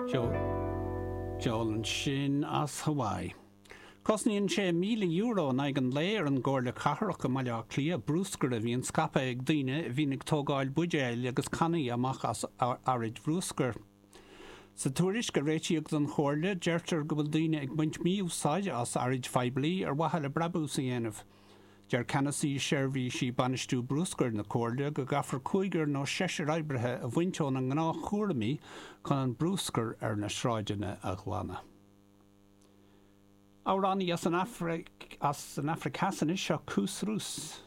Ceol ansin as Hawaii. Cosnaíonn sé €1,000 in aghaidh an lae ar an gComhairle Cathrach i mBaile Átha Cliath brúscar a bhíonn scaipthe ag daoine a bhíonn ag tógáil buidéil agus cannaí amach as araid bhrúscair. Sa tuairisc a réitíodh don Chomhairle, deirtear go bhfuil daoine ag baint mí-úsáide as araid phoiblí ar mhaithe le brabús a dhéanamh. Deir Ceannasaí Seirbhísí Bainistiú Brúscair na Comhairle go gcaithfear cúigear nó seisear oibrithe a bhaint óna ngnáthchúraimí chun an brúscar ar na sráideanna a ghlanadh. Amhránaí as an Afraic Theas anois, seo Koos Roos.